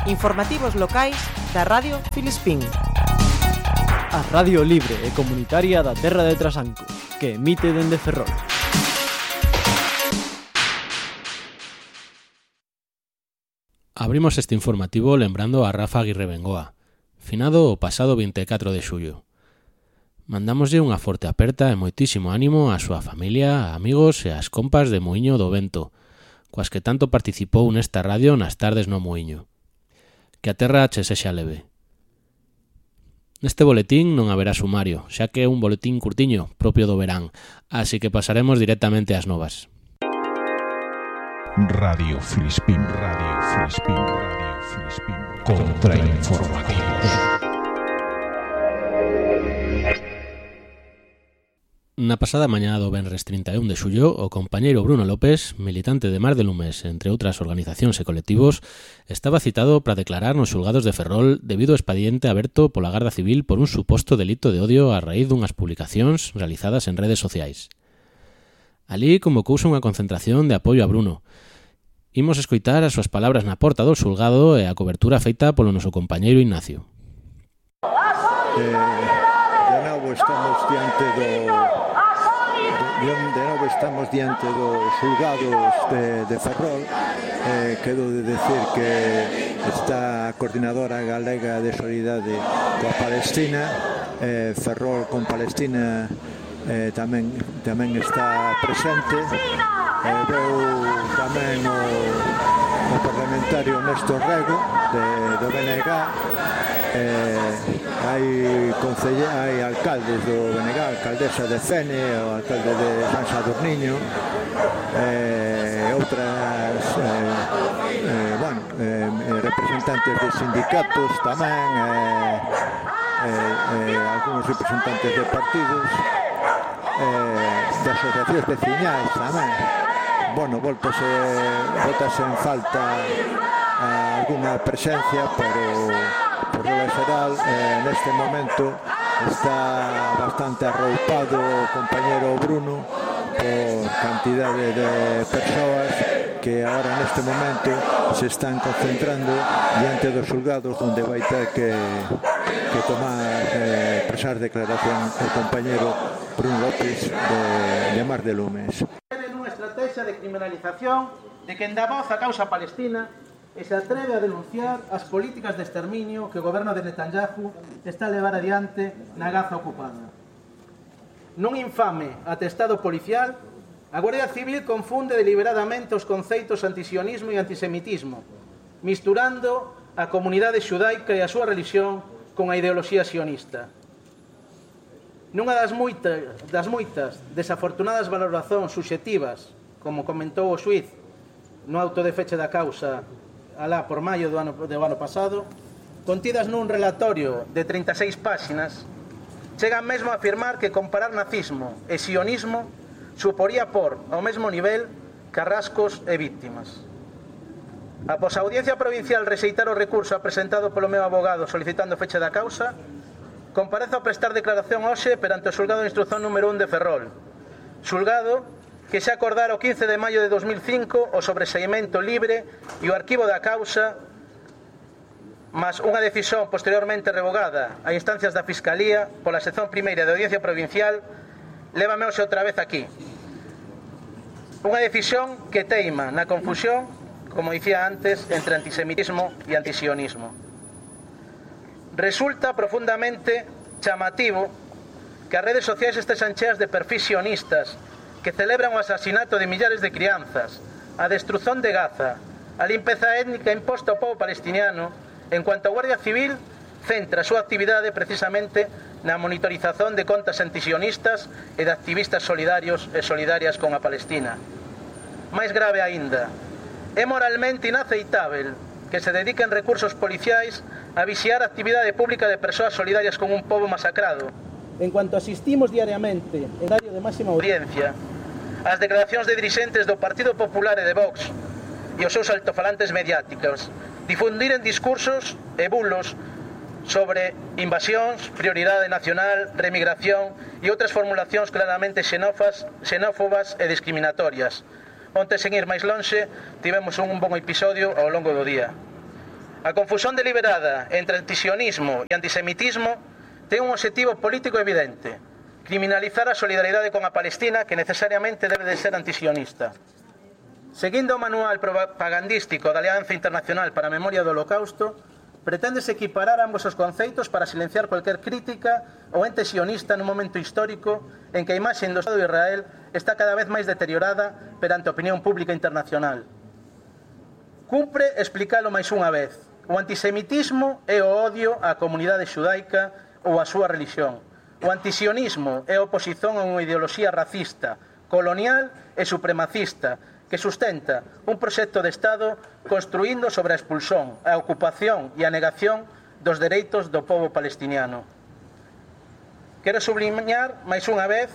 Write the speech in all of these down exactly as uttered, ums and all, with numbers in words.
Informativos locais da Radio Filispín. A radio libre e comunitaria da terra de Trasanco, que emite dende Ferrol. Abrimos este informativo lembrando a Rafa Aguirre Bengoa, finado o pasado vinte e catro de xullo. Mandámoslle unha forte aperta e moitísimo ánimo á súa familia, a amigos e ás compas de Muiño do Vento, coas que tanto participou nesta radio nas tardes no Muiño. Que a terra che sexa leve. Neste boletín non haberá sumario, xa que é un boletín curtiño, propio do verán, así que pasaremos directamente ás novas. Radio Filispín, Radio Filispín, Radio Filispín, contrainformativos. Na pasada mañá do venres trinta e un de xullo, o compañeiro Bruno López, militante de Mar de Lumes, entre outras organizacións e colectivos, estaba citado para declarar nos xulgados de Ferrol debido ao expediente aberto pola Garda Civil por un suposto delito de odio a raíz dunhas publicacións realizadas en redes sociais. Alí convocouse unha concentración de apoio a Bruno. Imos escoitar as súas palabras na porta do xulgado e a cobertura feita polo noso compañeiro Ignacio. Eh, de novo estamos diante do de, de novo estamos diante dos xulgados de, de Ferrol. Eh, quero de decir que está a Coordinadora Galega de Solidariedade coa Palestina, eh, Ferrol con Palestina eh, tamén, tamén está presente. Eh, veu tamén o, o parlamentario Néstor Rego de, do B N G. Eh, hai, concelle, hai alcaldes do B N G, alcaldesa de Fene, o alcalde de San Sadurniño, eh, outras eh, eh, bueno, eh, representantes de sindicatos tamén, eh, eh, eh, algúns representantes de partidos, eh, de asociacións veciñais tamén. Bueno, voltase, voltase en falta eh, alguna presencia, pero por lo xeral, eh, neste momento está bastante arroupado o compañero Bruno por cantidade de persoas que agora neste momento se están concentrando diante dos xulgados onde vai ter que, que tomar eh, presar declaración o compañero Bruno López de, de Mar de Lumes. Unha estrategia de criminalización de quen dá voz á causa palestina e se atreve a denunciar as políticas de exterminio que o goberno de Netanyahu está a levar adiante na Gaza ocupada. Nun infame atestado policial, a Guardia Civil confunde deliberadamente os conceitos antisionismo e antisemitismo, misturando a comunidade xudaica e a súa religión con a ideoloxía sionista. Nunha das moitas, das moitas desafortunadas valoracións subxectivas, como comentou o xuíz no auto de feche da causa alá por maio do ano, do ano pasado, contidas nun relatorio de trinta e seis páxinas, chegan mesmo a afirmar que comparar nazismo e sionismo suporía por ao mesmo nivel carrascos e víctimas. Após a Audiencia Provincial rexeitar o recurso presentado polo meu abogado solicitando feche da causa, comparezo a prestar declaración hoxe perante o xulgado de instrucción número un de Ferrol, xulgado que xa acordara o quince de maio de dos mil cinco o sobreseimento libre e o arquivo da causa, mas unha decisión posteriormente revogada a instancias da Fiscalía pola sección primeira da Audiencia Provincial, lévame hoxe outra vez aquí. Unha decisión que teima na confusión, como dicía antes, entre antisemitismo e antisionismo. Resulta profundamente chamativo que as redes sociais estexan cheas de perfis sionistas que celebran o asasinato de millares de crianzas, a destrución de Gaza, a limpeza étnica imposta ao povo palestiniano, en cuanto a Guardia Civil centra a súa actividade precisamente na monitorización de contas antisionistas e de activistas solidarios e solidarias con a Palestina. Máis grave aínda, é moralmente inaceitável que se dediquen recursos policiais a vixiar a actividade pública de persoas solidarias con un pobo masacrado. En cuanto asistimos diariamente en horario de máxima audiencia as declaracións de dirixentes do Partido Popular e de Vox e os seus altofalantes mediáticos difundiren discursos e bulos sobre invasións, prioridade nacional, remigración e outras formulacións claramente xenófas, xenófobas e discriminatorias, onte, sen ir máis lonxe, tivemos un bon episodio ao longo do día. A confusión deliberada entre antisionismo e antisemitismo ten un objetivo político evidente: criminalizar a solidaridade con a Palestina, que necesariamente debe de ser antisionista. Seguindo o manual propagandístico da Alianza Internacional para a Memoria do Holocausto, preténdese equiparar ambos os conceitos para silenciar cualquier crítica ou ente sionista nun momento histórico en que a imaxe do Estado de Israel está cada vez máis deteriorada perante a opinión pública internacional. Cumpre explicalo máis unha vez: o antisemitismo é o odio á comunidade xudaica ou á súa religión. O antisionismo é a oposición a unha ideoloxía racista, colonial e supremacista que sustenta un proxecto de Estado construíndo sobre a expulsión, a ocupación e a negación dos dereitos do povo palestiniano. Quero subliñar máis unha vez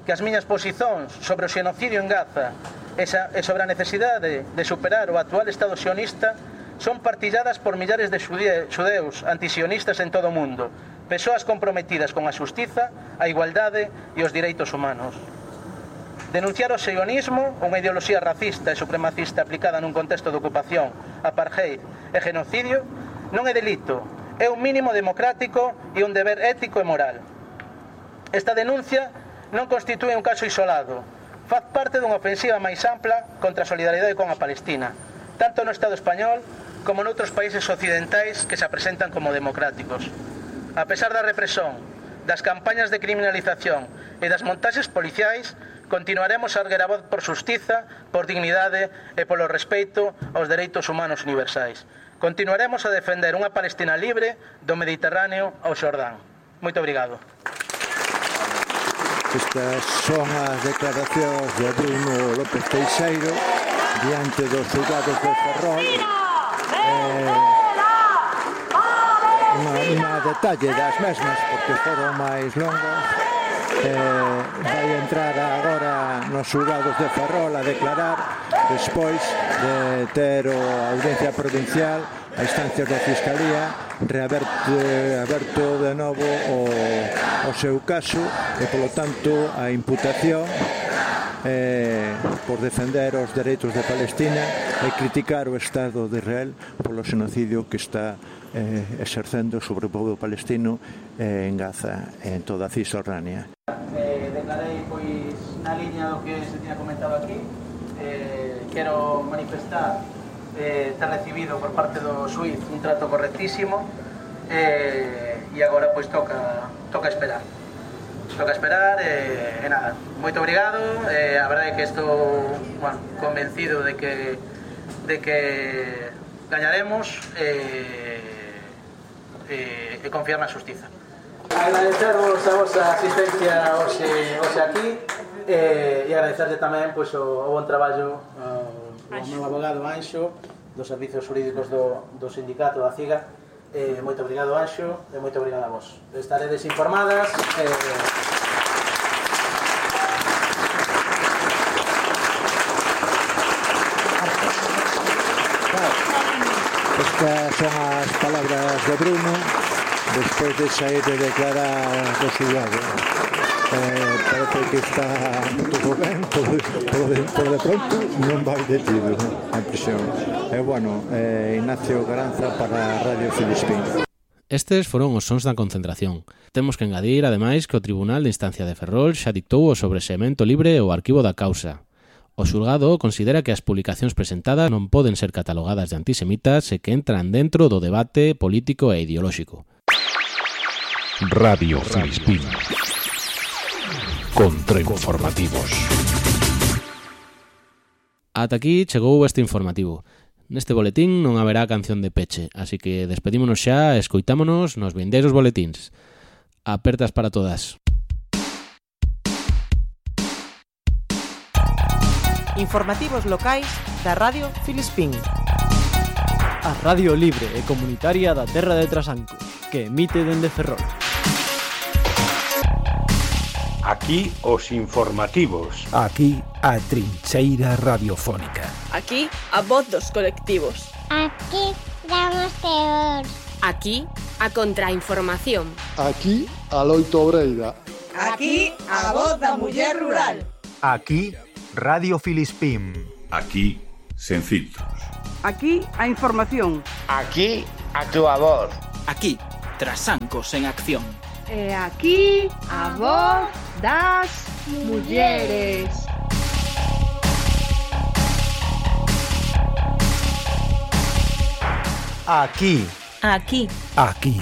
que as miñas posicións sobre o xenocidio en Gaza e sobre a necesidade de superar o actual Estado sionista son partilladas por millares de xudeus antisionistas en todo o mundo, persoas comprometidas con a xustiza, a igualdade e os direitos humanos. Denunciar o sionismo, unha ideoloxía racista e supremacista aplicada nun contexto de ocupación, apartheid e genocidio, non é delito, é un mínimo democrático e un deber ético e moral. Esta denuncia non constitúe un caso isolado, faz parte dunha ofensiva máis ampla contra a solidaridade con a Palestina, tanto no Estado español como noutros países occidentais que se presentan como democráticos. A pesar da represión, das campañas de criminalización e das montaxes policiais, continuaremos a erguer a voz por xustiza, por dignidade e polo respeito aos dereitos humanos universais. Continuaremos a defender unha Palestina libre do Mediterráneo ao Xordán. Moito obrigado. Estas son as declaracións de Bruno López Teixeiro diante dos xulgados de Ferrol. Eh, unha detalle das mesmas, porque foron máis longas. Eh, vai entrar agora nos xulgados de Ferrol a declarar despois de ter a audiencia provincial a instancias da Fiscalía reaberto aberto de novo o, o seu caso e polo tanto a imputación eh, por defender os dereitos de Palestina e criticar o Estado de Israel polo xenocidio que está eh, exercendo sobre o povo palestino eh, en Gaza e en toda a Cisjordania. Eh, declarei pois na liña do que se tiña comentado aquí. Eh, quero manifestar eh, ter recibido por parte do xuiz un trato correctísimo eh, e agora pois toca toca esperar toca esperar e, e nada, moito obrigado. Eh, a verdade é que estou bueno, convencido de que de que gañaremos eh, eh, e confiar na xustiza. Agradecervos a vosa asistencia hoxe, hoxe aquí eh, e agradecerlle tamén pois, o, o bon traballo ao, ao meu abogado Anxo dos servicios jurídicos do, do sindicato da CIGA. Eh, moito obrigado Anxo e moito obrigado a vos. Estaredes informadas eh, Estas son as palabras de Bruno despois de sair de declarar do xulgado. Eh, parece que está todo ben, todo, todo, de, todo de pronto non vai detido a prisión. E eh, bueno, eh, Ignacio Garanza para Radio Filispín. Estes foron os sons da concentración. Temos que engadir, ademais, que o Tribunal de Instancia de Ferrol xa dictou o sobreseemento libre ao arquivo da causa. O xulgado considera que as publicacións presentadas non poden ser catalogadas de antisemitas e que entran dentro do debate político e ideolóxico. Radio Filispín. Contrainformativos. Ata aquí chegou este informativo. Neste boletín non haberá canción de peche, así que despedímonos xa e escoitámonos nos vindeiros boletíns. Apertas para todas. Informativos locais da Radio Filispín. A radio libre e comunitaria da Terra de Trasancos, que emite dende Ferrol. Aquí os informativos. Aquí a trincheira radiofónica. Aquí a voz dos colectivos. Aquí damos teor. Aquí a contrainformación. Aquí a loito obreira. Aquí a voz da muller rural. Aquí Radio Filispín. Aquí sen filtros. Aquí a información. Aquí a túa voz. Aquí, Trasancos en acción. E aquí a voz das mulleres. Aquí. Aquí. Aquí.